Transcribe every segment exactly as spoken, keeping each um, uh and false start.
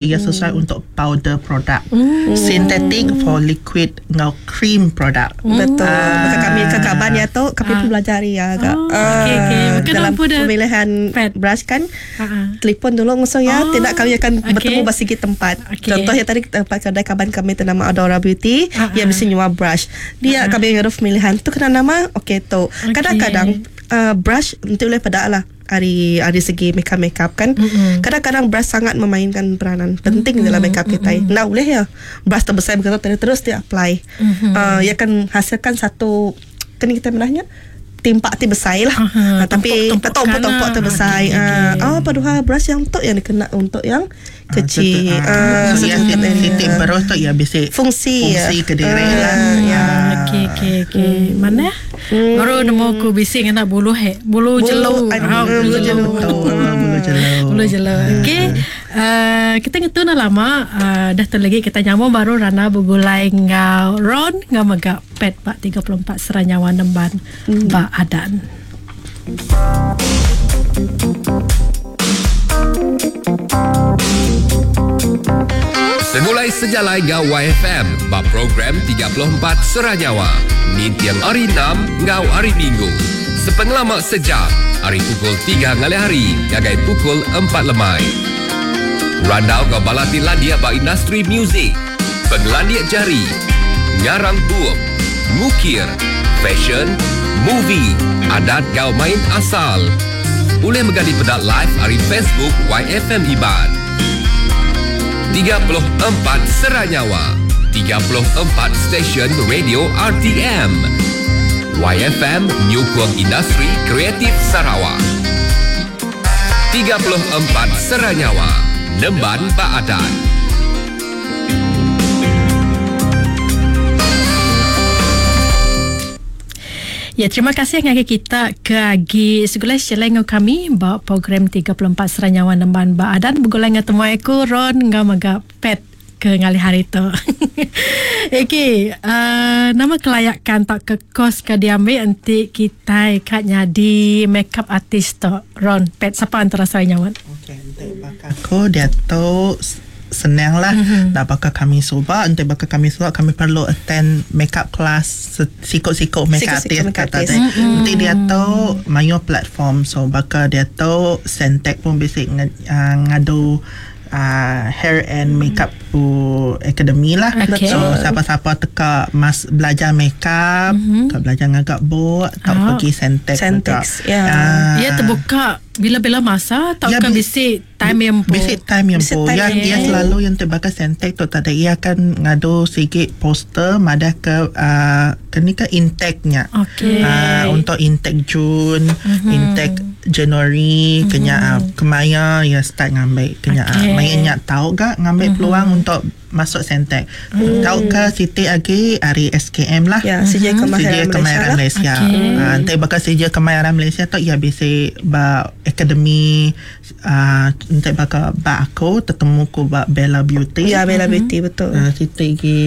Ia sesuai untuk powder product. Synthetic for liquid ngau cream product. Betul. Maka kami ke kaban ya tu, kami pun belajar ya agak. Oh, okey, okey. Ah, Bukan dalam nampu dah pemilihan pad. brush kan. Ah, ah. Telefon dulu ngusung ya, Oh, tidak kami akan okey. bertemu bersegi tempat. Okey. Contohnya tadi tempat kedai kaban kami ternama Adora Beauty, Ah, ia ah. mesti nyua brush. Dia kami ada pemilihan tu kena nama okey tu. Kadang-kadang uh, brush nanti boleh pada lah hari hari segi makeup makeup kan. Mm-mm. Kadang-kadang brush sangat memainkan peranan penting mm-hmm. dalam makeup kita. Mm-hmm. Nah boleh ya. Brush terbesar begitu terus terus dia apply. Mm-hmm. Uh, ia akan hasilkan satu kena kita menahnya timpak ti besar lah. Aha, Uh, tapi tumpuk-tumpukan tumpuk-tumpuk lah. tu besar. Okey, Uh, okey. oh paduhal brush yang untuk yang dikena untuk yang kecil. Ah, Ah, so, ya, sedikit area. titik berus tu ya basic Fungsi, fungsi ya. ke diri Ah, lah. ya. Okey okey okey. Mana? Baru nemu aku bising anak bulu he. Bulu Bulu, jelu. ah, Ah, bulu jelu. Betul, bulu jelu. Bulu jelu. Okey. Uh, kita ngetu dah lama uh, dah tu lagi kita nyambung baru Rana bergulai ngau Ron ngau mega pet pak tiga puluh empat Seranyawa Nemban hmm. Ba Adan. Segulai sejalai ngau Y F M ba program tiga puluh empat Seranyawa. Nintiang hari enam ngau hari Minggu. Sepengelama sejam, hari pukul tiga ngalih hari, gagai pukul empat lemai. Randau ngau balati landia ba industri muzik. Penglandia jari, ngarang bup, ngukir, fashion, movie, adat gau main asal. Boleh menggali pedak live hari Facebook Y F M Iban. tiga puluh empat Seranyawa, tiga puluh empat Stesen Radio R T M. Y F M Nyukung Industri Kreatif Sarawak. tiga puluh empat Seranyawa, Nemban Baadan. Ya, terima kasih ngagai kita ke agi segulai share dengan kami ba program tiga puluh empat Seranyawa Nemban Baadan bergulai dengan temuai aku Ron ngau mega pet ke ngalih hari tu. Okey, uh, nama kelayakan tak ke kos ke diambil nanti kita kat nyadi makeup artist tu Ron pet siapa antara saya nyawan. Okey, nanti bakal aku dia tu senang lah. Mm-hmm. Nak bakal kami subak, nanti bakal kami subak kami perlu attend makeup class sikok-sikok makeup Sikok-sikok artist makeup kata artist. dia. Mm-hmm. Nanti dia tu mayo platform so bakal dia tu Sentek pun basic ng- uh, ngadu uh, hair and makeup pu academy lah. Okay. So siapa-siapa teka mas belajar makeup, mm-hmm. ka belajar ngagak buat, tak Ah. pergi Sentek. Sentex, ya. Ah. Ia terbuka bila-bila masa tak Ya, kan bi- bisik time yang po. Basic time yang Basic po. time Ya, yang ia po. selalu yang terbakar Sentek tu tak ada. Ia akan ngadu sikit poster madah ke uh, ke ni ke intake-nya. Okey. Uh, untuk intake Jun, mm-hmm. intake Januari, mm-hmm. kenya uh, kemaya ya start ngambil kenya Okey. okay. uh, mainnya tahu gak ngambil mm-hmm. peluang untuk masuk Sentek. Mm. Tahu ke Siti lagi hari S K M lah. Ya, Sijil Sijil Kemahiran Malaysia Kemahiran lah. Malaysia. Okey. Ah, nanti bakal Sijil Kemahiran Malaysia tu ya bisa ba akademi ah nanti bakal ba aku tertemu ku ba Bella Beauty. Ya, Bella Beauty betul. Ah, Siti lagi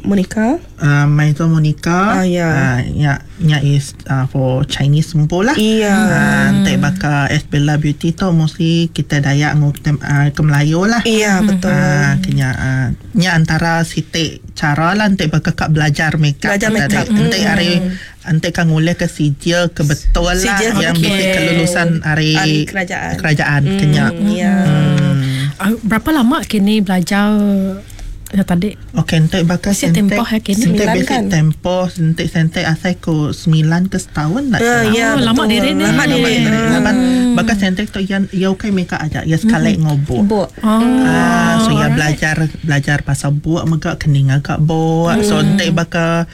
Monica. uh, Maison Monica. Ah, ya. Ah, ya, ya is uh, for Chinese sempo lah. Iya. Ah, nanti bakal S Bella Beauty tu mostly kita Dayak ngu uh, ke Melayu lah. Iya, betul. Ah, kenya ah, nya antara sitik cara lah nanti bakal kak belajar makeup. Belajar tadi. makeup. Nanti Hmm. hari nanti kan ngulih ke sijil ke betul lah Sijil, yang okey. basic kelulusan hari Hari kerajaan. Kerajaan kenya. Ya. Hmm. Uh, berapa lama kini belajar ya tadi? Okey, nanti bakal Basic tempoh ya kini? Nanti Sembilan basic kan? tempoh, nanti sentek asal ku sembilan ke setahun nak Ah, salah. ya, Oh, lama betul. diri ni. Lama Lama diri. diri. Laban bakal sentek tu yang ya ukai makeup aja, ya sekali ngobok. Buk. Oh. Ah, so ya alright. belajar belajar pasal buat megak kening agak buat. So nanti bakal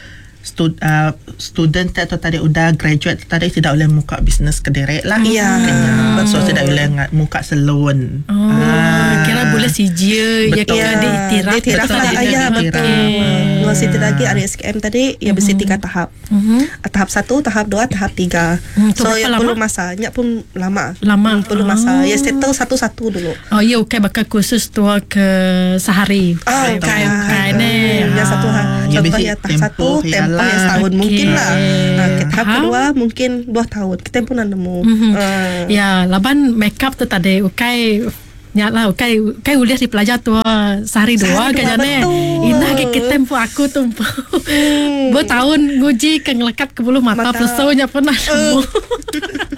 stud, uh, student atau tadi udah graduate tadi tidak boleh muka bisnes ke direk lah. Ya, Kena. So tidak boleh nga- muka salon. Oh, Ah. kira boleh sijil ya Betul. kira diiktiraf Diiktiraf betul lah. dia Ya, diiktiraf. betul. Okey. Dua siti lagi ada S K M tadi ya mesti tiga tahap. Tahap satu, tahap dua, tahap tiga. Hmm, tu So berapa ya lama? perlu masa. Nyak pun lama. Lama. Hmm, perlu masa. Ah. Ya settle satu-satu dulu. Oh ya okey bakal khusus tua ke sehari. Ah, Bukan bukan. bukan ni. Yang satu ha. Ya, Contohnya basic tahap satu tempoh tempoh ialah. yang setahun Okey. mungkin lah. Ha, ke tahap Faham. kedua mungkin dua tahun. Kita pun nak nemu. Mhm. Ah. Ya, laban makeup tu tadi ukai Nya lah kai kai ulih dipelajar tua sehari dua kan jane. Indah ke kita empu aku tu empu. Hmm. Bertahun nguji ke ngelekat ke bulu mata, mata. Pesunya pernah uh.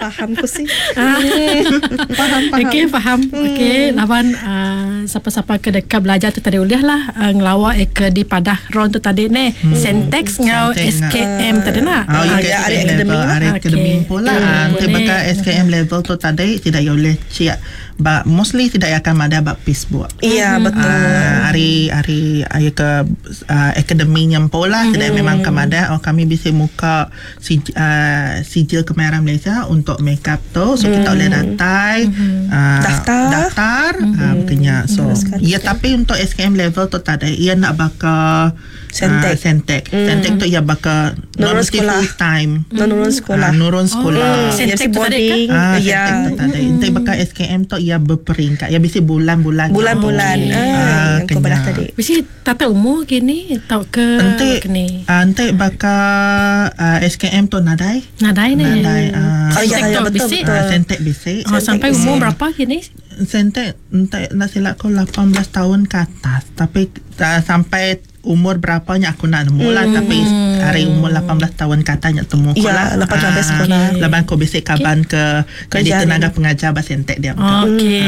Faham ku sih. Hmm. Faham faham. Okey faham. Hmm. Okey lawan uh, siapa-siapa ke dekat belajar tu tadi ulih lah uh, ngelawak eh, ke di Padah Ron tu tadi ni. Hmm. Sentex ngau S K M tadi nak. Oh, ya ada akademi lah. Ada akademi pula. Nanti bakal S K M level tu tadi tidak boleh ciak. But mostly tidak akan ada bab Facebook. Iya hmm. betul. Uh, hari hari hari ke uh, akademi nyempo lah. Hmm. Tidak memang kemada. Oh kami bisa muka si, uh, sijil kemahiran Malaysia untuk makeup tu. So hmm. kita boleh datang hmm. uh, daftar. Daftar. Hmm. Uh, bukannya. So ya tapi untuk S K M level tu tak ada. Ia nak bakal Sentek. Uh, Sentek. Hmm. Sentek tu ia bakal nurun sekolah full time. Nurun sekolah. Uh, nurun sekolah. Oh. Sentek tu tadi ke? Ah, Sentek tu tadi. Nanti bakal S K M tu ia berperingkat. Ya bisi bulan-bulan. Bulan-bulan. Ah, ah yang kau belah tadi. Bisi tata umur kini tau ke ente kini. Ente bakal uh, S K M tu nadai. Nadai ni. Nadai. Uh, oh, ya, ya, betul, bisi. betul. Uh, Sentek bisi. Oh, sampai umur berapa kini? Sentek ente nak silap kau lapan belas tahun ke atas. Tapi uh, sampai umur berapanya aku nak nemu lah. Hmm. Tapi hari umur lapan belas tahun katanya temu ya, lah. lapan belas sekolah. Lepas aku bisik kaban ke jadi tenaga pengajar bahasa Sentek dia. Okey.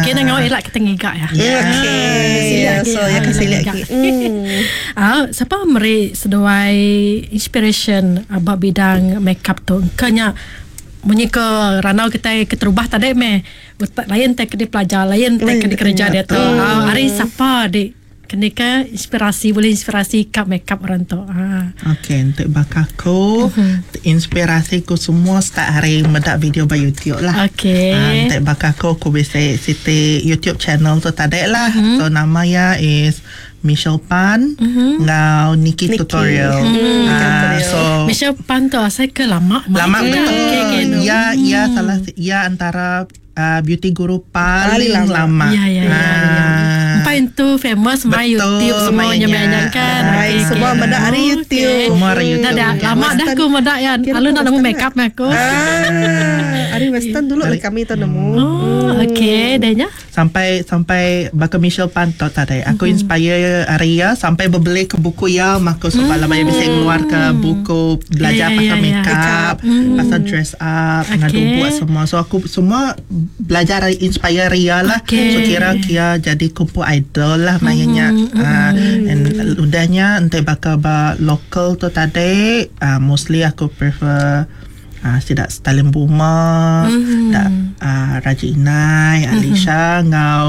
Okey nak ngau elak kita ngigak ya. Okey. So ya kasih lihat lagi. Ah, siapa meri seduai inspiration about bidang makeup tu? Kenya munyi ke ranau kita keterubah tadi meh. Lain tak kena pelajar, lain tak kena kerja dia tu. Hari siapa dik? Kena ke inspirasi, boleh inspirasi kat makeup orang tu. Ha. Okey, untuk bakaku, uh-huh. inspirasi ku semua start hari mendak video by YouTube lah. Okey. Ha, untuk bakaku, aku bisa siti YouTube channel tu tadi lah. Uh-huh. So, nama ya is Michelle Pan uh-huh. ngau Nikki, Nikki Tutorial. Hmm. Ha, so Michelle Pan tu asal ke lama? Lama betul. Okay, okay, no. Ya, ya salah ya antara uh, beauty guru paling, paling lama. lama. Ya, ya, ya. ya. Empat itu famous main YouTube semuanya banyak kan. Okay, semua okay. Benda hari YouTube. Semua hari YouTube. Dah, dah lama dah aku mendak ya. Lalu nak nemu make up aku. Ah, hari Western dulu lah kami tu nemu. Oh, okey, dahnya. Sampai sampai bakal Michelle Pan tu tadi. Aku mm-hmm. inspire hari ya sampai berbeli ke buku ya, maka sebab lama mm. bisa keluar ke buku belajar yeah, pasal yeah, make up, yeah. pasal dress up, okay. Ngadu buat semua. So aku semua belajar inspire Ria lah. Okay. So kira kira jadi kumpul idol lah mainnya. Mm-hmm. Uh, and udahnya entah bakal ba local tu tadi, uh, mostly aku prefer uh, tidak Stalin Buma, mm-hmm. tak uh, Raja Inai, Alicia, mm-hmm. ngau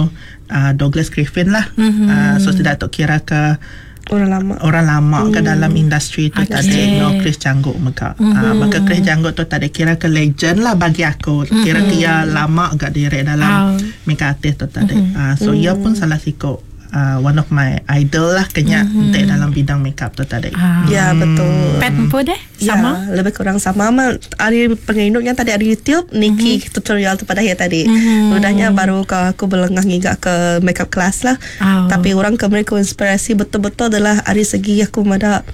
uh, Douglas Griffin lah. Mm-hmm. Uh, so tidak tak kira ke orang lama orang lama hmm. ke dalam industri tu Okay. tadi no Chris Janggut mega. Mm-hmm. Uh, maka Chris Janggut tu tadi kira ke legend lah bagi aku. Kira Mm-hmm. kia lama agak direk dalam Oh. makeup artist tu tadi. Mm-hmm. Uh, so ia pun salah sikok uh, one of my idol lah kenya Mm-hmm. mm-hmm. dalam bidang makeup tu tadi. Ah. Ya betul. Pet pun deh sama. Ya, lebih kurang sama. Ma, hari penginduknya tadi hari YouTube Nikki Mm-hmm. tutorial tu pada ya tadi. Mm-hmm. Udahnya baru ke aku belengah ngigak ke makeup class lah. Oh. Tapi orang ke mereka inspirasi betul-betul adalah hari segi aku mada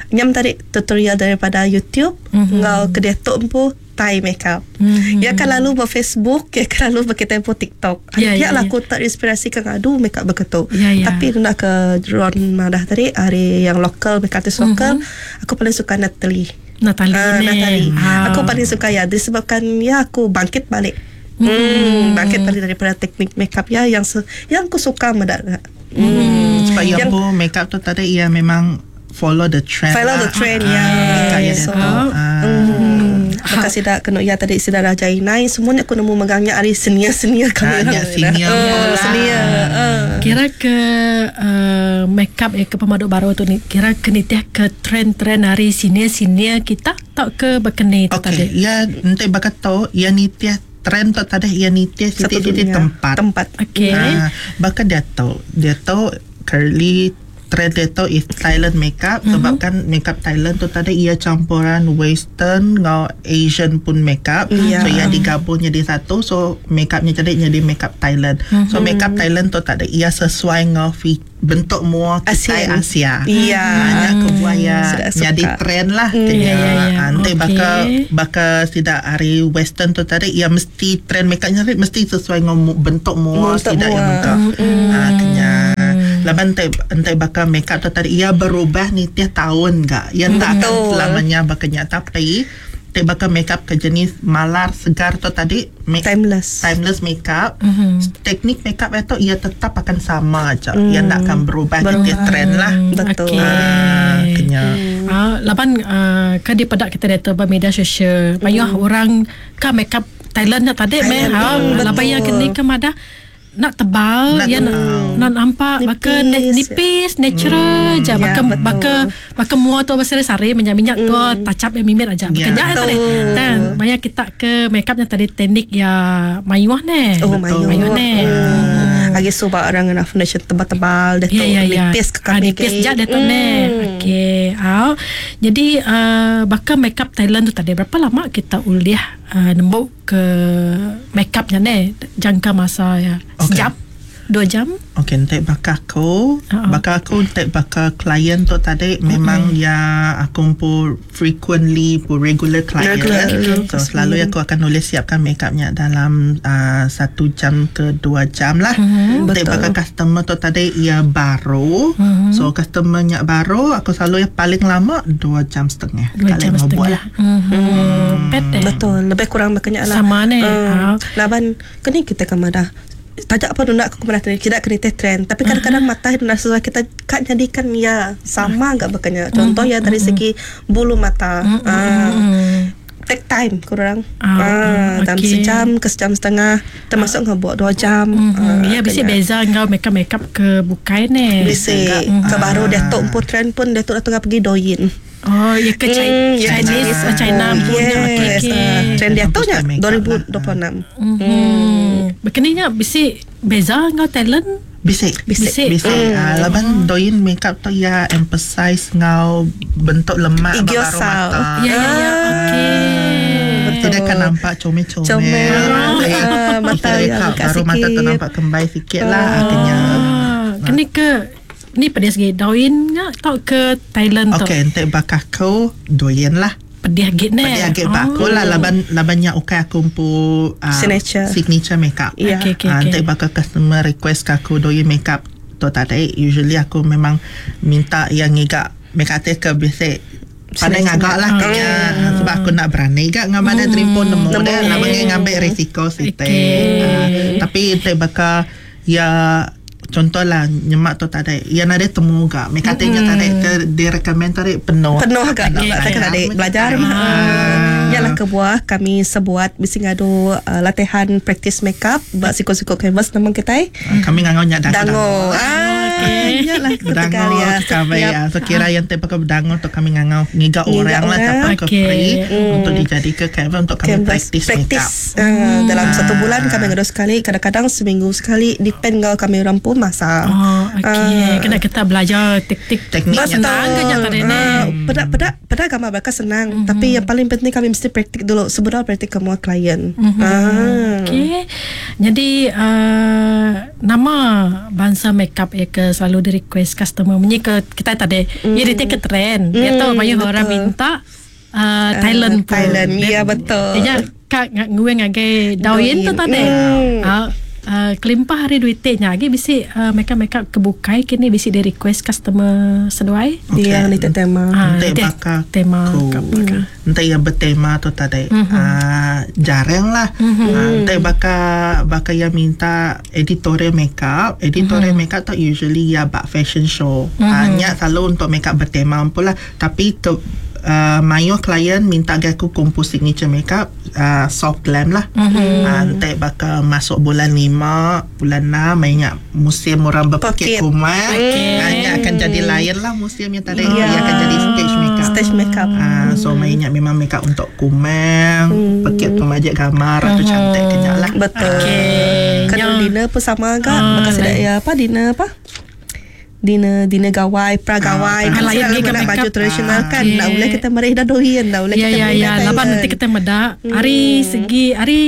nyam tadi tutorial daripada YouTube Mhm. mm-hmm. ngau ke dia tu empu Thai makeup. Mhm. Ya kan lalu ber Facebook, ya kan lalu berketempo TikTok. Ya, Ya, ya, lah ya. aku terinspirasi ke ngadu makeup begitu. Ya, ya. Tapi nak ke Ron Madah tadi hari yang local makeup artist local, Mhm. aku paling suka Natalie. Natalie Ah, ni. Natalie. Ah. Aku paling suka ya disebabkan ya aku bangkit balik. Hmm, bangkit balik daripada teknik makeup ya yang se- yang aku suka mendak. Hmm. Sebab ia Yang- pun makeup tu tadi ia memang follow the trend. Follow lah. the trend, Ah, ya. Makeup ia So, dia tu. Ah. Hmm. Maka sida kena ya tadi sida Raja Inai semuanya aku nemu megangnya ari senior-senior kami. Ah, ya, senior Oh, pula. senior. Ah. Kira ke uh, makeup eh, ke pemaduk baru tu ni kira ke nitih ke trend-trend hari senior-senior kita tak ke berkeni tu Okey, tadi. ia nanti bakal tahu ia nitih trend tu tadi ia nitih Satu titik-titik dunia. tempat. Tempat. Okey. Ah, bahkan dia tahu, dia tahu curly trend dia tu is Thailand makeup mm-hmm. sebab kan makeup Thailand tu tadi ia campuran western dengan Asian pun makeup yeah. So ia digabung jadi satu, so makeupnya jadi jadi makeup Thailand. Mm-hmm. So makeup Thailand tu tadi ia sesuai dengan bentuk mua kita Asia. Iya. Banyak kebuaya jadi trend lah. Mm. Ya, ya, ya. Nanti Okay. baka baka tidak hari western tu tadi ia mesti trend makeupnya mesti sesuai dengan bentuk mua tidak yang bentuk. Mm. Ha, kena. Laban entai entai baka makeup tu tadi ia berubah ni tiap tahun gak. Ia tak akan selamanya bakanya, tapi entai baka makeup ke jenis malar segar tu tadi make, timeless timeless makeup. Mm-hmm. Teknik makeup itu ia tetap akan sama aja. Mm. Ia tak akan berubah, berubah. Dia trend lah. Betul. Okay. Ah, kena. Ah, laban uh, ke di pedak kita data media sosial. Banyak mm. orang ke makeup Thailand nak tadi meh. Ha, laban yang kini ke madah nak tebal, nak ya nak, nak nampak nipis, baka nipis natural hmm, je, baka ya, baka baka mua tu besar-besar minyak-minyak hmm. tu touch up yang mimit aja. Ya. Baka yeah. tadi. Dan banyak kita ke makeupnya tadi teknik ya mayuh ne. Oh, mayuh. Mayuh ne. Hmm. Lagi sebab orang nak foundation tebal-tebal dia tu ya, ya, ya. nipis ke kami. Ah, nipis je dia tu ne. Okey. Ah. Jadi uh, baka makeup Thailand tu tadi berapa lama kita uliah uh, nembuk ke makeupnya ne jangka masa ya. Okay. Sejam? Dua jam? Okey, entek bakal aku, Uh-uh. bakal aku entek bakal klien tu tadi uh-huh. memang ya aku pun frequently pun regular client. Regular. Okay. So selalu aku akan nulis siapkan makeupnya dalam uh, satu jam ke dua jam lah. Uh-huh. Entek bakal customer tu tadi ia baru. Uh-huh. So customernya baru aku selalu yang paling lama dua jam setengah. Dua jam setengah. Lah. Uh-huh. Hmm. Pet Betul, lebih kurang makanya lah. Sama ni. Um, laban kini kita kemadah tajak apa nak aku kemana tidak kena trend, tapi kadang-kadang uh-huh. mata nak sesuai kita kat jadikan ya sama enggak bekanya. Contoh uh-huh. ya dari segi bulu mata. Uh-huh. Uh, take time kurang. Ah, ah, dalam okay. sejam ke sejam setengah termasuk uh. ngebuat dua jam. Mm-hmm. Uh, Ya, bisa beza ngau makeup makeup ke bukai ne. Bisa. Uh. Ke baru dia tok pun trend pun dia tok dah tengah pergi doyin. Oh, ya ke China, Mm, ya, Chinese, Chinese. China punya. Okey, Yes. okey. Uh, trend dia tu nya Makeup dua ribu dua puluh enam. Mm-hmm. Begininya bisa beza ngau talent? Bisik. Bisik. Bisik. Mm. Uh, laban doin makeup tu ya emphasize ngau bentuk lemak Igyo baru sal. mata. Ya, ya, ya. Okey. Betul. Tidak akan nampak comel-comel. Comel. Ah, mata Kita yang rekap, buka baru mata tu sikit. nampak kembai sikit lah akhirnya. Ah, kini ke ni pada segi doin nya tau ke Thailand tu. Okey, entek bakal kau doin lah. Pedih git ne. Pedih agak oh. aku lah laban labannya ukai aku pu uh, Signature. signature makeup. Ya. Okey, okey, Ah, okey. entek bakal customer request ke aku doin makeup tu tadi usually aku memang minta yang ngigak makeup artist ke biasa pandai ngagak lah kena sebab aku nak berani gak ngam ada terima nemu dah nak bagi ngambil risiko site. Okey. Ah, tapi entek bakal ya contohlah nyemak tu tadi yang ada temu gak makeup artistnya tadi ke dia recommend tadi penuh Penuh gak Penuh. nak tak adik belajar. Ah. Yalah kebuah kami sebuat bisi ngadu uh, latihan practice makeup buat sikut-sikut canvas nama kita. Ah, Kami ngangau nyak dango. Dango. Ah, yalah Bedango ketegal ya. kami ya. So kira yang te pakai bedango tu kami ngangau ngiga Ngiga orang lah orang. siapa ke Okey. free untuk dijadikan canvas untuk kami Canvas practice, makeup. practice. Ah, dalam satu bulan kami ngadu sekali, kadang-kadang seminggu sekali depend kalau kami orang pun masa. Oh, okey. Ah. Kena kita belajar teknik Tekniknya. Senang ke nya tadi ni? Ah, Pedak pedak pedak gambar mereka senang, mm-hmm. tapi yang paling penting kami mesti praktik dulu sebelum praktik ke semua klien. Mm-hmm. Ah. Okey. Jadi uh, nama bangsa makeup ya ke selalu di request customer munyi ke kita tadi. Mm. Ya dia take trend. Dia tahu banyak betul. orang minta uh, Thailand pun. Thailand, Dia- ya, betul. Dia kak ngue ngagai dawin tu tadi. Mm. Ah, uh, kelimpah hari duit nya lagi bisi uh, makeup makeup kebukai kini bisi di request customer seduai. Okey. Dia ni tema. Ah, Entek dia bakal tema ku. ke bakal. Entek yang bertema tu tadi. Mm-hmm. Uh, jarang lah. Mm-hmm. Uh, entek bakal bakal yang minta editorial makeup. Editorial mm-hmm. makeup tu usually ya bak fashion show. Mm-hmm. Uh, nyak selalu untuk makeup bertema pula. Tapi ke Uh, mayo klien minta gak aku kumpul signature makeup uh, soft glam lah. Mm-hmm. Uh, entek bakal masuk bulan lima, bulan enam, mainnya musim orang berpekit Pekit. kumar. Okey. Uh, nyak akan jadi lain lah musimnya tadi. Ya. Ia akan jadi stage makeup. Stage makeup. Ah, so mainnya memang makeup untuk kumang, hmm. pekit pemajak gambar atau cantik kenyak lah. Betul. Okey. Kalau Yang- dinner pun sama agak. Ah, Maka sudah lain. ya apa dinner apa? dinner dinner gawai, pra gawai. Ah, Kan lain selalu lagi kena make baju up. tradisional Ah, kan. okey. Nak boleh kita merih dah doyan, dah boleh Ya kita ya merih ya, dah laban nanti Thailand. kita medak hari segi hari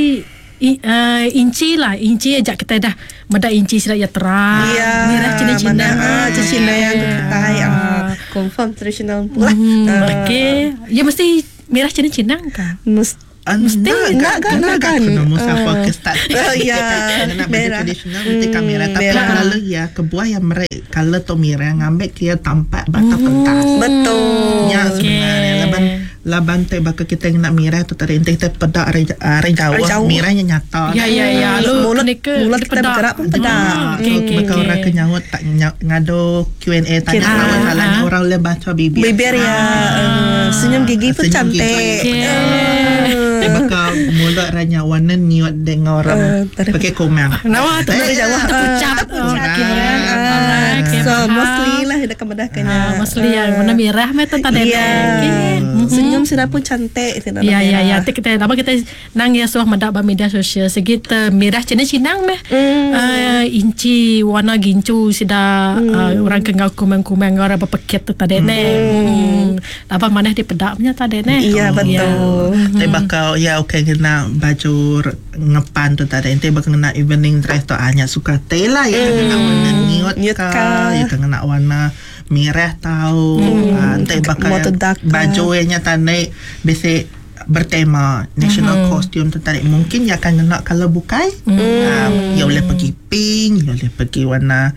i, uh, inci lah, inci ajak kita dah medak inci sila ya terang. Ya, Merah Cina-Cina. mana ah Cina yang kita ah confirm tradisional pula. Hmm, Ah, okey. Ya mesti merah Cina-Cina kah? Mesti Mesti nak kan, nak kan. Kena musafir Ah. ke start. Oh, ya. Nak baju Merah. tradisional mesti kan merah. Tapi merah. kalau ya kebuah yang merek kalau tu merah ngambil kia tampak batas pentas. Betul. Ya sebenarnya laban laban te bakal kita yang nak merah tu tadi ente kita pedak ari ari jauh, Ari jauh. merahnya nyata. Ya ya ya. Lu Mulut- ni ke mulut kita pedak. bergerak pun pedak. Ah, Okey So, okey. bakal okey. orang kenyawut tak nya- ngado Q and A tanya Ah. lawan salahnya Ah. orang boleh baca bibir. Bibir ya, eh, senyum gigi pun Senyum gigi. cantik. Okey. Eh, bakal mulut ranya warna niut dengan orang Eh, tak ada. pakai komang. Nama tu Dari jauh. ah, Terpucat. Terpucat. Okey. Ah, Alright, okey, So faham. mostly lah dah kemedahkannya. Ah, mostly yang warna merah meh tu tadi. Ya. Okey. Senyum sudah pun cantik. Tidak Ya ya ya merah. Nanti kita lama kita nang ya suah mendak ba media sosial segi te merah cina cinang meh. Mm. Uh, inci warna gincu sida mm. uh, orang ke ngau kumang-kumang orang berpeket tu tadi ne. Hmm. Lama mana di pedaknya tadi ne. Iya betul. Tapi bakal ya okey kena baju r- ngepan tu tadi. Ente bakal kena evening dress tu hanya suka teh lah ya kena warna nude Nude ka, ka. ya kena warna merah tau. Ah, ente bakal More to dark ka. baju nya tadi basic bertema national costume tu tadi mungkin ya akan kena colour bukai. Ah, ya boleh pergi pink, ya boleh pergi warna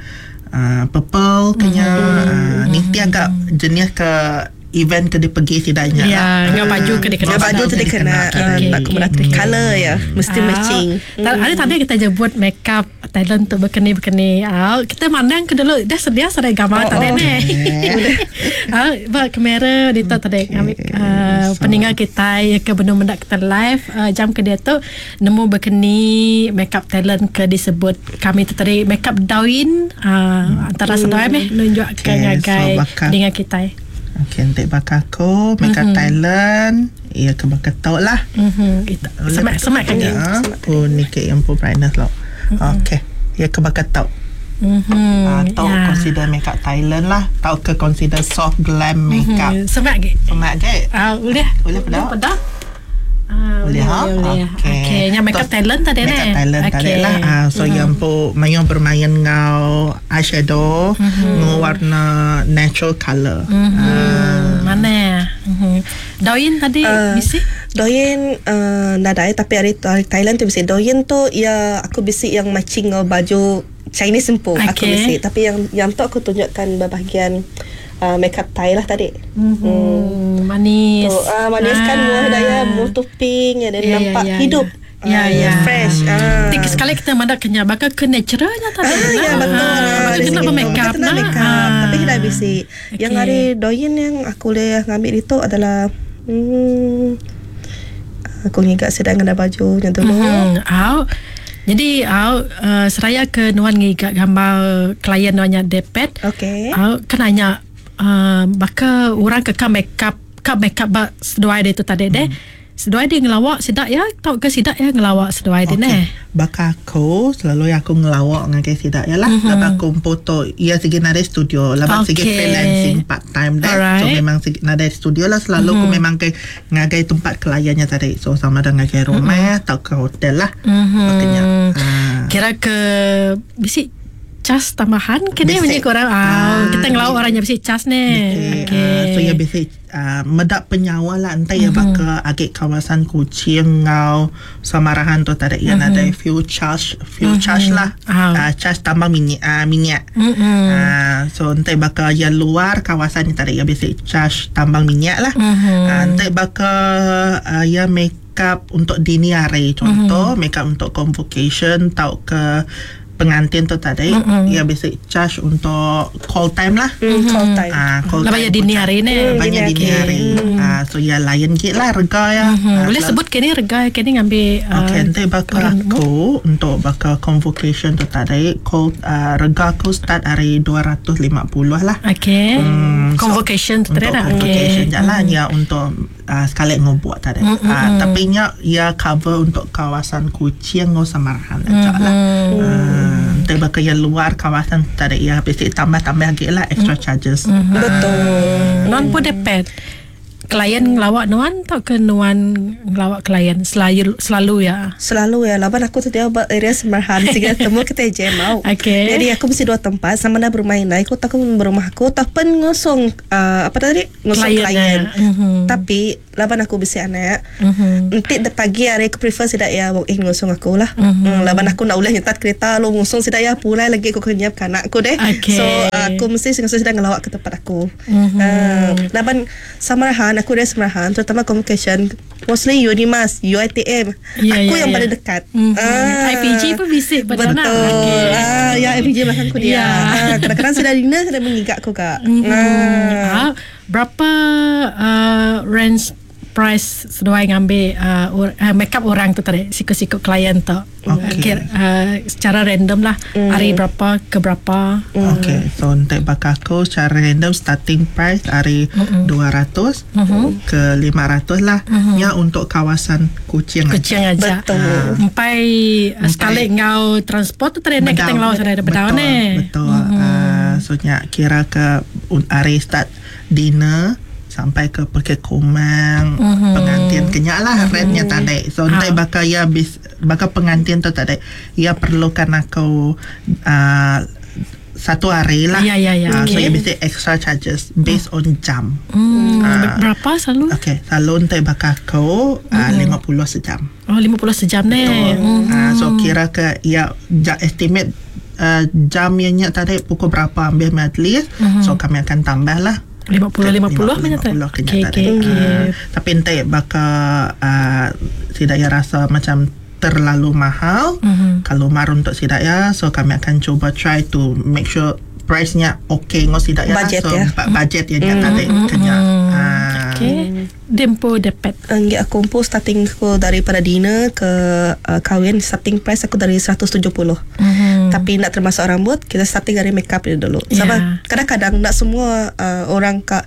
uh, purple kenya. Ah, ni agak jenis ke event ke dia pergi sidaknya Ya, lah. dengan baju ke dia kena. Dengan baju tu dia kena Okey, ah, okey, tak okey. kemudian color ya, mesti Ah, matching. Tak, ada tadi kita jemput make up talent untuk berkeni-berkeni. Ah, kita mandang ke dulu dah sedia sedia gambar Oh, tadi oh. ni. Ah, ba kamera di tu tadi kami uh, peninggal kita ya ke benda-benda kita live uh, jam ke dia tu nemu berkeni make up talent ke disebut kami tu tadi make up dawin uh, antara sedai meh nunjuk ke Okay, ngagai so bakal- peninggal kita. Okey, nanti bakal aku make up Thailand. Ya ke bakal tahu lah. Mhm. Semak semak kan Ya, aku ni ke yang pun brightness lah. Okey. Ya ke bakal tahu. Mhm. Ah, tahu Ya. consider makeup Thailand lah. Tahu ke consider soft glam makeup. Mhm. Semak ke? Semak ke? Ah, boleh. Boleh pedak? Pedak. Ah, Boleh ha? Boleh. Okey. Okey, yang makeup Tok- talent tadi ni. Makeup talent tadi Okey. lah. Ah, so mm-hmm. yang pun main bermain ngau eyeshadow, mm-hmm. ngau warna natural colour. Mm-hmm. Hmm, mana? Mhm. Doin tadi Ah. bisi? Doyen uh, nadai tapi hari, hari Thailand tu bisi. Doyen tu ya aku bisi yang matching dengan baju Chinese empu aku Okey. bisi. Tapi yang yang tu aku tunjukkan bahagian uh, makeup Thai lah tadi. Hmm, manis. Tu uh, manis kan muah daya muah tu pink ya dan Ya, ya, nampak ya, hidup. ya. Ya, Ah, ya. Fresh. Ah. Tik sekali kita mandak kenyal bakal ke naturalnya tadi. Ah, ya betul. Ah, Dari kena segi tu. bermakeup Kena nah. make up. Ah. Tapi tidak bisi. Yang Okey. hari doyen yang aku boleh ngambil itu adalah hmm, aku ngigat sedang ada baju yang dulu. Hmm, au. Jadi au uh, seraya ke nuan ngigat gambar klien nuannya depet. Okey. Au kan nanya uh, baka orang ke ka make up ka make up ba seduai dia tu tadi deh. Seduai dia ngelawak sedak ya tau ke sedak ya ngelawak seduai dia neh. Bakal aku selalu aku ngelawak dengan ke sidak ya lah. Mm-hmm. Lepas aku foto ia segi nada studio. Lepas segi Okey. freelancing part time dah. So Alright. memang segi nada studio lah selalu mm-hmm. aku memang ke ngagai tempat kliennya tadi. So sama dengan ngagai rumah mm-hmm. atau ke hotel lah. Mhm. Makanya. Ha. Kira ke bisi cas tambahan ke ni Bisi. bunyi korang ah, Ah, kita ngelawak orangnya bisi cas ni. Okey. Okey. Ah, so ya biasa uh, medak penyawa lah entah mm-hmm. ya baka agak kawasan Kuching ngau Samarahan tu tadi ya mm-hmm. ada fuel charge fuel mm-hmm. charge lah Ah. uh, charge tambah minyak uh, minyak. Mm-mm. Uh, so entah baka ya luar kawasan ni tadi ya biasa charge tambang minyak lah. Mhm. Uh, entah baka uh, ya make up untuk dini hari contoh mm-hmm. make up untuk convocation tau ke pengantin tu tadi mm-hmm. ya biasa charge untuk call time lah. Hmm, call time. Ah, call Lah time bayar dini hari ni. Ah, Banyak dini dini hari. Ah, so ya lain git lah rega ya. Hmm, Ah, boleh selalu- sebut ke ni rega ke ni ngambil uh, Okay, nanti bakal orang aku untuk bakal convocation tu tadi call uh, rega aku start hari dua ratus lima puluh lah. Okey. Hmm, so, Convocation tu Untuk tadi dah. convocation Okey. jalan ya untuk uh, sekali ngobuat tadi. Mm, Mm, uh, tapi nya ya cover untuk kawasan Kuching ngau Samarahan aja lah. Hmm. Uh, Nanti bakal yang luar kawasan tadi ya bisi tambah-tambah lagi lah extra charges. Mm-hmm. Betul. Nuan pun dapat klien ngelawak nuan atau ke nuan ngelawak klien selalu selalu ya? Selalu ya, laban aku tu dia buat area Semerahan sehingga temu kita je mau. Okey. Jadi aku mesti dua tempat sama dah bermain lah. Aku tak berumah aku tak pen ngosong uh, apa tadi? Ngosong Klien, klien. ya. Mhm. Tapi laban aku bisi anak. Mhm. Nanti de pagi hari aku prefer sidak ya walk in ngosong aku lah. Mhm. Mm, laban aku nak boleh nyetat kereta lu ngosong sidak ya pulai lagi aku kena nyiapkan anak aku deh. Okey. So aku mesti ngosong sidak ngelawak ke tempat aku. Mhm. Uh, laban Samarahan aku dari Samarahan terutama communication mostly Unimas, U I T M. Ya, aku ya, yang ya. paling dekat. Mhm. I P G pun bisik pada Betul. nak. Okey. Ah, ya I P G belakang aku dia. Ya. Ah, kadang-kadang sudah dinner sudah mengigak aku kak. Mhm. Ah. Ah, berapa uh, range price seduai ngambil uh, or, uh, makeup orang tu tadi siku-siku klien tu. Okey. Okay. Uh, secara random lah mm. hari berapa ke berapa. Mm. Okay, so untuk bakal aku secara random starting price hari mm-hmm. dua ratus mm-hmm. ke lima ratus lah. Mm-hmm. Ya untuk kawasan Kuching. Kuching aja. Betul. Empai uh, sekali ngau transport tu tadi nak kita ngelawak sana ada bedau Betul, ni. Betul. Mm-hmm. Uh, so nya kira ke hari start dinner sampai ke Pekik Kumang, mm-hmm. pengantin kenyak lah mm-hmm. rate-nya tak ada. So nanti Ah. bakal ya bis, bakal pengantin tu tak ada. Ia perlukan aku uh, satu hari lah. Ya, ya, ya. Uh, So Okey. ia mesti extra charges based on jam. Hmm, Ah. berapa selalu? Okay, selalu nanti bakal aku uh, lima puluh sejam. Oh, lima puluh sejam ni. Betul. Uh, so kira ke ya ja, estimate uh, jam yang nyak tadi pukul berapa ambil majlis. Mm-hmm. So kami akan tambah lah. lima puluh lima puluh macam tu. lima puluh kena Okey, tadi. okey, okey. Ah, tapi entah bakal uh, tidak ya rasa macam terlalu mahal. Mhm. Kalau mar untuk sidak ya, so kami akan cuba try to make sure price-nya okey ngos sidak ya. Budget so ya. ba- budget yang mm tadi kena. Ah. Okey. Dempo dapat. Enggak, aku pun starting aku daripada dinner ke uh, kahwin starting price aku dari seratus tujuh puluh. Mhm. Tapi nak termasuk rambut, kita starting dari makeup dia dulu. Sebab Ya. kadang-kadang nak semua uh, orang kak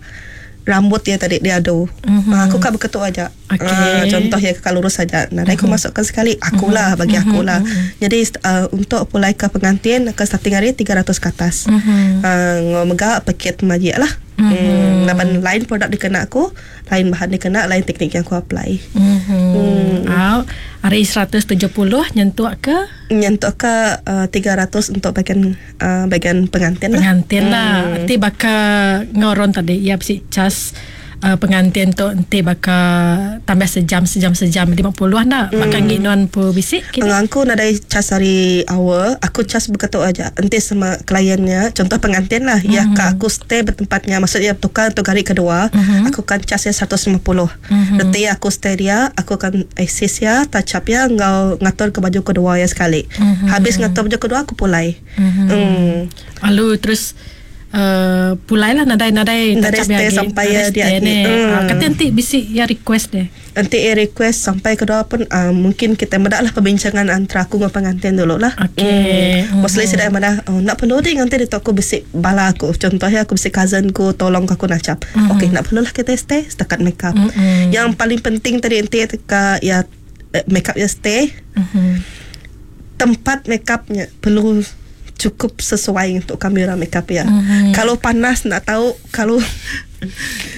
rambut dia tadi dia adu. Mhm. Mm-hmm. Uh, aku kak berketuk aja. Okey. Uh, contoh ya kakak lurus saja. Nah, mm-hmm. aku masukkan sekali akulah bagi akulah. Mm-hmm. Jadi uh, untuk pulai ke pengantin ke starting hari tiga ratus ke atas. Mhm. Uh, ngomega paket majik lah. Mm-hmm. Hmm, laban lain produk dikena aku, lain bahan dikena, lain teknik yang aku apply. Mhm. Hmm. Ah, hari seratus tujuh puluh nyentuk ke Nyentuk ke uh, tiga ratus untuk bagian uh, bagian pengantin lah. pengantin lah. Nanti bakal ngoron tadi ya bisi cas uh, pengantin tu nanti bakal tambah sejam sejam sejam lima puluh nak hmm. Bakal ngik nuan pu bisik kini. Aku nadai cas hari awal, aku cas berketuk aja. Nanti sama kliennya, contoh pengantin lah, mm-hmm. ya kak aku stay bertempatnya, maksudnya tukar untuk hari kedua, mm-hmm. aku kan casnya seratus lima puluh. Mm-hmm. Nanti aku stay dia, aku akan assist ya, touch up ya, ngau ngatur ke baju kedua ya sekali. Mm-hmm. Habis ngatur baju kedua aku pulai. Mhm. Mm. Lalu terus uh, pulai lah nadai nadai Nadai touch up stay lagi. sampai Nadai ya dia stay lagi. ni. Hmm. Ah, kata nanti bisik ya request deh. Nanti eh request sampai kedua pun uh, mungkin kita medak lah perbincangan antara aku dengan pengantin dulu lah. Okey. Hmm. Mostly mm. saya madah oh, nak perlu deh nanti dia aku besik bala aku. Contohnya aku besik cousin ku tolong aku nak cap. Mhm. Mm. Okey nak perlu lah kita stay setakat make up. Mm-mm. Yang paling penting tadi nanti ke ya eh, make up ya stay Mhm. tempat make upnya perlu cukup sesuai untuk kami orang make up ya. Mhm. Kalau panas nak tahu, kalau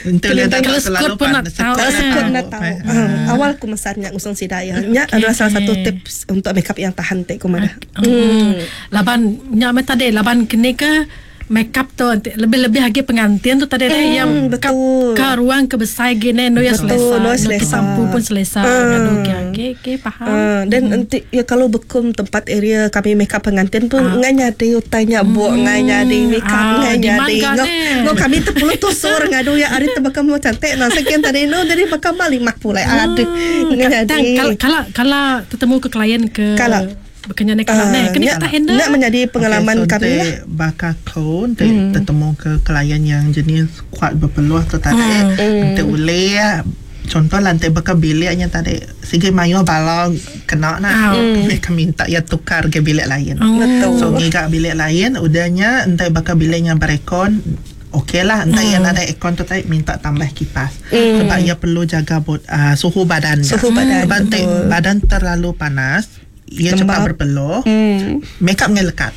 Untuk dia tak Kalau terlalu skot pun nak panas, tahu. Kalau Ah. sekut nak tahu. Eh, Ah, awal aku masarnya ngusung sidaya. Nya Okey. adalah salah satu tips untuk makeup yang tahan tek ku mana. Hmm. Laban nyak me tadi laban kini ke make up tu nanti lebih-lebih lagi pengantin tu tadi hmm, yang ke, betul. ke ruang ke besar gini no ya Betul, selesa. no No selesa. sampu pun selesa. Hmm. Okey okey okey faham. Ah, dan nanti ya kalau bekum tempat area kami makeup pengantin pun Ah. ngai nyadi utainya buat ngai nyadi makeup Ah, ngai demand nyadi. kan, Ngo eh. ngo kami tu perlu tusur ngadu ya ari tu bakal mau cantik nah sekian tadi no jadi bakal balik mak pula aduh ngai Kadang nyadi. kalau kalau kalau tertemu ke klien ke Kalau. bukannya nak kalau Ah, ni kena nak- kita handle. Nak menjadi pengalaman okay, so kami lah. Bakal kau nanti hmm. tertemu ke klien yang jenis kuat berpeluh tu tadi. Hmm. Nanti boleh contoh lah nanti bakal biliknya tadi segi mayu bala kena nak Ah. hmm. Mereka minta ya tukar ke bilik lain. Hmm. Betul. So ngiga bilik lain udahnya entah bakal biliknya berekon okey lah entah hmm. yang ada aircon tu tadi minta tambah kipas hmm. sebab ia perlu jaga bot, uh, suhu badan Suhu badan, sebab nanti betul. badan terlalu panas ia cepat berpeluh. Hmm. Makeup nya lekat.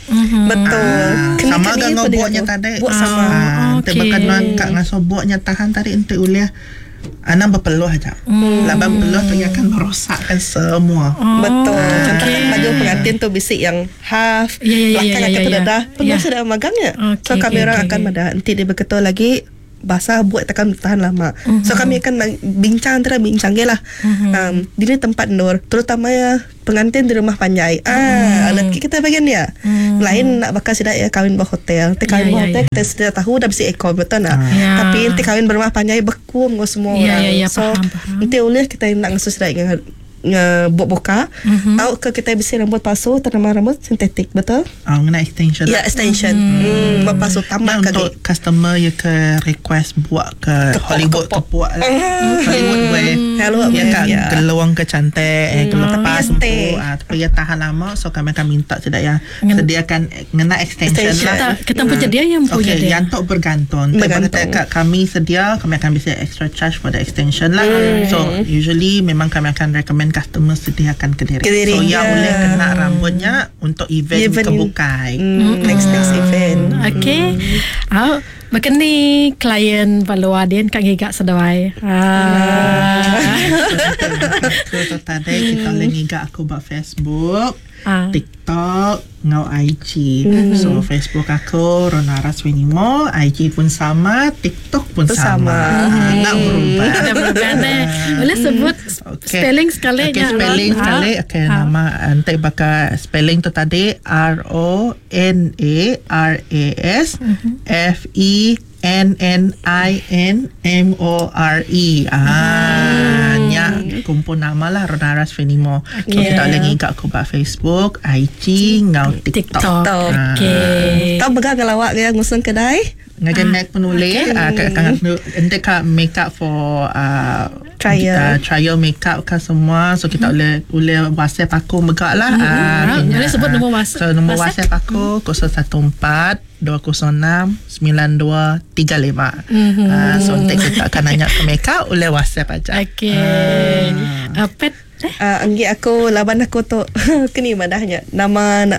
Betul. Ah, Kena sama kena dengan pun buatnya dengan tadi. Buat sama. Ah, nanti Okey. bahkan nuan kak ngasuh buatnya tahan tadi nanti uliah Anang berpeluh aja. Hmm. Laban peluh tu ia akan merosakkan semua. Oh, Betul. Contoh okey. kan baju pengantin tu bisik yang half, Ya, ya, ya, belakang ya, akan ya, terdedah. ya. Penuh Ya. sudah magangnya. Okey, So kami okey, orang okey, akan okey. madah nanti dia berketul lagi basah buat takkan tahan lama. Mhm. So kami akan mang- bincang antara bincang je lah. Um, di ni tempat Nur, terutama ya pengantin di rumah panjai. Ah, Mhm. mm. kita bagian dia. Lain nak bakal sidak ya kahwin bah hotel. Nanti kahwin Ya, bah ya, hotel ya. kita sudah tahu dah bisi aircon betul nak. Ya. Tapi nanti kahwin berumah panjai beku dengan semua Ya, orang. ya, ya, so faham, faham. nanti oleh kita nak ngasuh sidak dengan nge buat buka Mhm. mm-hmm. tahu ke kita bisa rambut palsu tanaman rambut sintetik betul Ah, ngena extension. ya extension hmm, hmm buat palsu tambah Nah, kaki untuk customer yang ke request buat ke Kepok, Hollywood kepok. kepok lah. Hollywood wave. Hollywood Ya wave, kak ya. geluang ke cantik, eh Tapi kelepas ya empu. stay. Ah, tapi ya tahan lama so kami akan minta tidak ya Ngen- sediakan ngena extension, Extension. lah. Kita kita punya dia yang punya Okay, dia. yang tu bergantung. Bergantung. Bergantung. Kata kami sedia, kami akan bisa extra charge for the extension lah. So usually memang kami akan recommend customer sediakan ke diri. Ke diri, So yang ya. boleh kena rambutnya untuk event, Event. kebukai. hmm, next next event Okey. Ah, Bahkan ni klien balua dia kat ngigak seduai. Ah. So, so tadi kita boleh ngigak aku buat Facebook, Ah. TikTok, ngau I G. So Facebook aku Ronara Swenimo, I G pun sama, TikTok pun Pun sama. sama. Ah, nak berubah. Ada berubah ni. Boleh sebut Okay. spelling sekali Okay, nya, spelling Ron. sekali. Ah. Okay, Ah. nama nanti bakal spelling tu tadi R O N A R A S F E N N I N M O R E. Ah, nya kumpul nama lah Ronaras Fenimo. Okay. So kita boleh ngigak aku buat Facebook, I G, ngau TikTok. TikTok. TikTok. Okey. tahu begang kalau awak yang ngusung kedai Ngajar Mac pun boleh. Ah, kat kan nanti kat makeup for uh, Trial. uh, trial makeup kan semua. So kita boleh boleh WhatsApp aku megak lah. Ah, Ah, kena. boleh sebut nombor WhatsApp. So nombor WhatsApp? WhatsApp aku kosong satu empat dua kosong enam sembilan dua tiga lima. Ah, so nanti kita akan nanya ke makeup boleh WhatsApp aja. Okey. Ah, pet eh? uh, anggi aku laban aku tu kini madahnya nama na,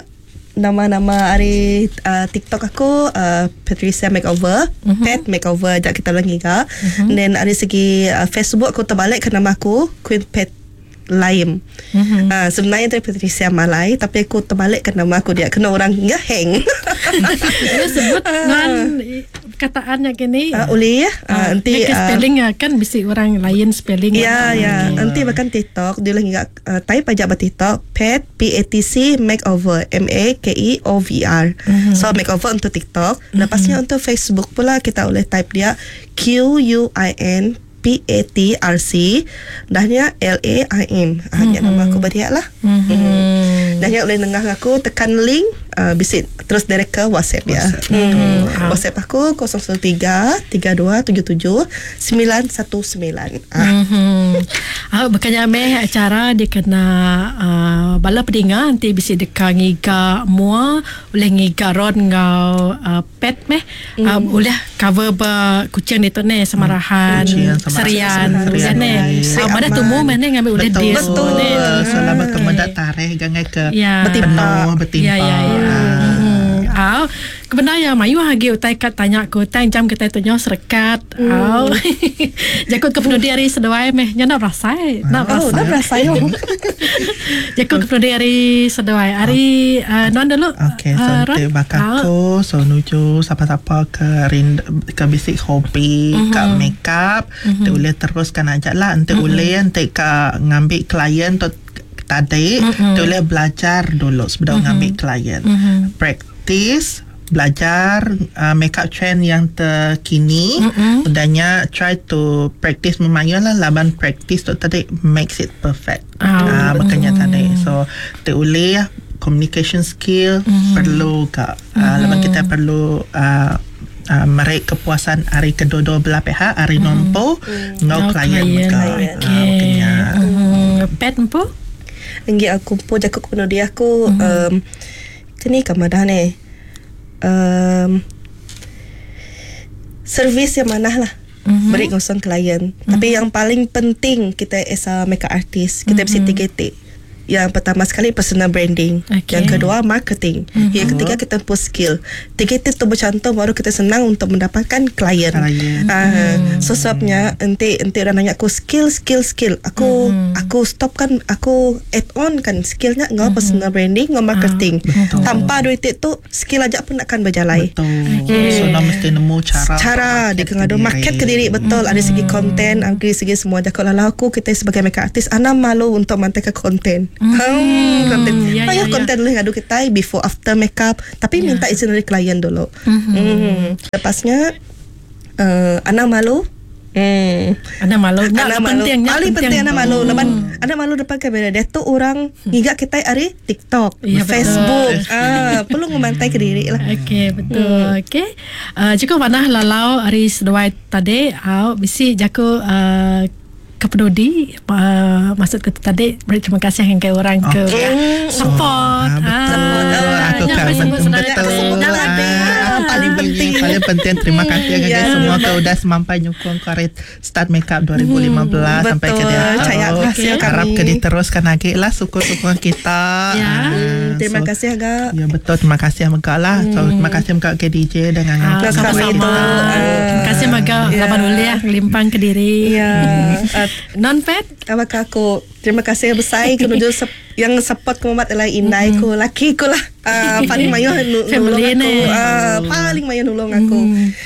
nama-nama hari uh, TikTok aku uh, Patricia Makeover, mm-hmm. Pet Makeover jak kita lagi ka. Mm-hmm. Then dari segi uh, Facebook aku terbalik ke nama aku Queen Pet Laim. Mm-hmm. Uh, sebenarnya dari Patricia Malai tapi aku terbalik ke nama aku dia kena orang ngeheng. Boleh sebut non perkataannya gini. uh, boleh ya. Uh, nanti Dia ke uh, spelling ah, kan bisi orang lain spelling. Ya, ya. Nanti bahkan TikTok dia lagi uh, type aja bah TikTok pet P A T C makeover M A K E O V R. Mm-hmm. So makeover untuk TikTok. Mm-hmm. Lepasnya untuk Facebook pula kita boleh type dia Q U I N P A T R C dahnya L A I M. Ah, mm-hmm. nama aku berdiak lah. Mm-hmm. Mm. Dahnya boleh nengah aku tekan link uh, visit terus direct ke WhatsApp ya. WhatsApp, mm. WhatsApp aku kosong satu tiga tiga dua tujuh tujuh sembilan satu sembilan. Ah. Mm-hmm. Ah, bukannya meh acara dia kena uh, bala pedinga nanti bisi deka ngiga mua oleh ngiga ron ngau uh, pet meh mm. uh, oleh cover ba kucing ni tu ne Samarahan Kucing, Samarahan, Serian Serian, Serian ne Seri ah, mana Aman. tumu meh ne ngambil oleh Betul. dia Betul. ne. Selama kemudian tarikh jangan ke Ya. Bertimpa. penuh bertimpa. Ya ya ya. Ah. Hmm. Ah, kebenar ya mayu hagi utai kat tanya aku tang jam kita tu nyo serekat. Mm. Au. Jakut ke penudi hari seduai meh nya nak berasai. Nak Oh, berasai. dah berasai. Jakut ke penudi hari seduai. Hari uh, non dulu. Okay, so Ah, Ron. nanti bakal Ah. aku so nuju siapa-siapa ke rind, ke basic hobi, mm-hmm. ke makeup, mm-hmm. boleh teruskan aja lah. Nanti mm-hmm. boleh nanti ke ngambil klien tu tadi, mm-hmm. boleh belajar dulu sebelum mm-hmm. ngambil klien. Mm-hmm. Practice belajar uh, makeup trend yang terkini mm-hmm. Udahnya try to practice memayun lah laban practice tu tadi makes it perfect. Ah, Ah, makanya tadi. So boleh communication skill mm-hmm. perlu ke mm-hmm. uh, lepas kita perlu uh, uh, merik kepuasan hari kedua-dua belah pihak hari mm-hmm. nompo ngau Ngau klien klien. mereka. Okey. Ah, makanya. Hmm, pet empu? Enggi aku pun jakut kepada dia aku mm-hmm. um, kini kamadah ni um, servis yang mana lah mm-hmm. beri kosong klien mm-hmm. Tapi yang paling penting kita as a makeup artist kita mm-hmm. mesti T K T Yang pertama sekali personal branding. Okey. Yang kedua marketing. Mm-hmm. Yang ketiga kita push skill. Tiga itu tu bercantum baru kita senang untuk mendapatkan klien. Klien. Ah, so sebabnya enti enti orang nanya aku skill skill skill. Aku mm-hmm. aku stop kan aku add on kan skillnya ngau mm-hmm. personal branding ngau marketing. Betul. Tanpa duit itu skill aja pun akan berjalai. Betul. Okay. So nak mesti nemu cara Cara dia kena ada market ke diri betul mm. Ada segi konten, ada segi semua. Jakok lalau aku kita sebagai makeup artist ana malu untuk mantai ke konten. Mm. Hmm, konten. Ya, Payah ya, ya. konten boleh ngadu kita before after makeup tapi Ya. minta izin dari klien dulu. Mm-hmm. Mm. Lepasnya uh, ana malu. Hmm. Ana malu. Nak Anak malu. penting, nak Paling penting anak malu. Lepas anak malu depan kamera dia tu orang ngigak kita hari TikTok, Ya, betul. Facebook. Ah, perlu ngemantai ke diri lah. Okey, betul. Hmm. Okey. Uh, cukup mana lalau hari seduai tadi au bisi jaku uh, kepenudi uh, maksud ke tadi beri terima kasih yang ke orang ke Okey. support. Ah, betul. Aku yang kan sebut betul. betul. Sebut tadi. Ah, Paling penting. Paling penting terima kasih Ya. kepada semua ke udah semampai nyukung Koret Start Makeup dua ribu lima belas Hmm, sampai ke betul. dia. Caya hasil kami. Harap ke diteruskan lagi lah syukur-syukur kita. Ya. Ah, Hmm, terima so, kasih agak. Ya betul, terima kasih Mega lah. So, terima kasih Mega ke D J dengan Ah, Terima kasih sama-sama. itu. Ah. Terima kasih Maga Ya. laban uliah ngelimpang ke diri. Ya. Uh, Non pet apakah aku terima kasih besar kenuju sep, yang support ku mat adalah indai ku laki ku lah. Uh, paling mayu nu, Family nulung aku. ni. Uh, paling mayu nulung aku.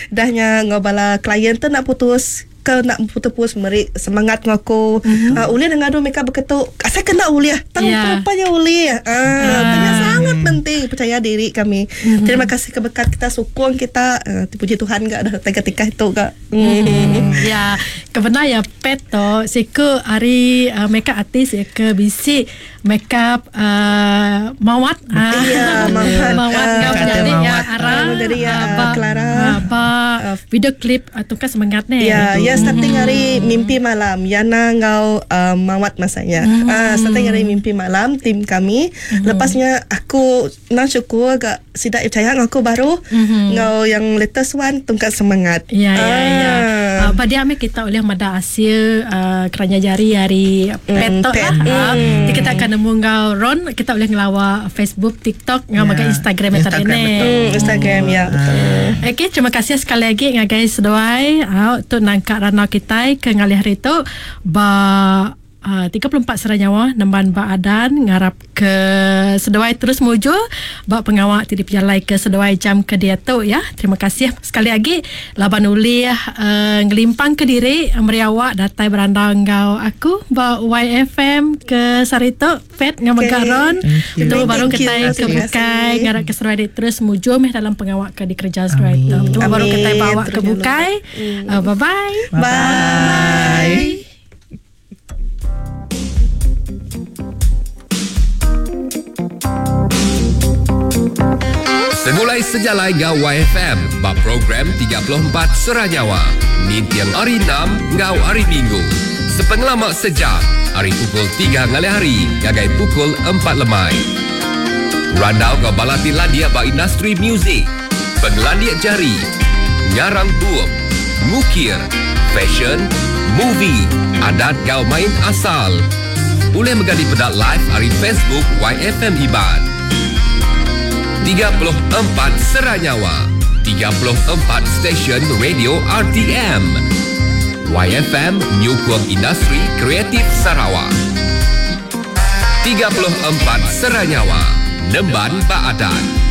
Dahnya ngobala klien tu nak putus ke nak putus-putus meri semangat ngaku mm-hmm. uh, uliah ngadu mereka berketuk asal kena uliah tang Ya. rupanya uliah ah uh, sangat penting percaya diri kami mm-hmm. Terima kasih ke berkat kita sokong kita uh, puji Tuhan gak dah ketika itu gak mm. Ya, kebenar ya pet to siku hari uh, makeup artist ya ke bisi makeup uh, mawat. Ah. Ya, mawat. Mawat Ah. kau Kata jadi ya mawat. Ara. Jadi ya, ah, ba- Clara. ah, ba video klip atau kan semangat ni. Ya, ya starting hari mimpi malam. Yana ngau uh, mawat masanya. Mm. Uh, starting hari mimpi malam tim kami. Mm. Lepasnya aku nang syukur agak sidak percaya aku baru mm-hmm. ngau yang latest one tungkat semangat. Ya, ya, ya. Ah. Uh, pada ame kita oleh mada hasil uh, kerana jari hari petok pet. lah. Uh, kita akan nemu ngau Ron, kita boleh ngelawa Facebook, TikTok, ngau Ya. makan Instagram Instagram, tadi ni. betul. Hmm, Instagram ya betul. Okey, terima kasih sekali lagi ngagai seduai. Uh, untuk nangkak ranau kita ke ngalih hari tu ba Uh, tiga puluh empat seranyawa nemban ba adan ngarap ke seduai terus muju ba pengawak ti dipejalai ke seduai jam ke dia tu ya. Terima kasih sekali lagi laban ulih uh, ngelimpang ke diri meriawak datai berandang ngau aku ba Y F M ke Sarito Pet ngau Okey. Megaron. Thank you. Betul baru Thank you. kita ke Terima bukai kasih. ngarap ke seduai dia terus muju meh dalam pengawak ke dikerja seduai tu. Betul baru Amin. kita bawa ke Terus bukai. Uh, bye bye. Bye. Segulai sejalai ngau Y F M bab program tiga puluh empat Seranyawa. Nintiang hari enam ngau hari Minggu. Sepengelamak sejam, hari pukul tiga ngalih hari ngagai pukul empat lemai. Randau ngau balati landia ba industri muzik. Penglandia jari, ngarang bup, ngukir, fashion, movie, adat gau main asal. Boleh menggali pedak live hari Facebook Y F M Iban. tiga puluh empat Seranyawa, tiga puluh empat stesen radio R T M. Y F M Nyukung Industri Kreatif Sarawak. tiga puluh empat Seranyawa, Nemban Baadan.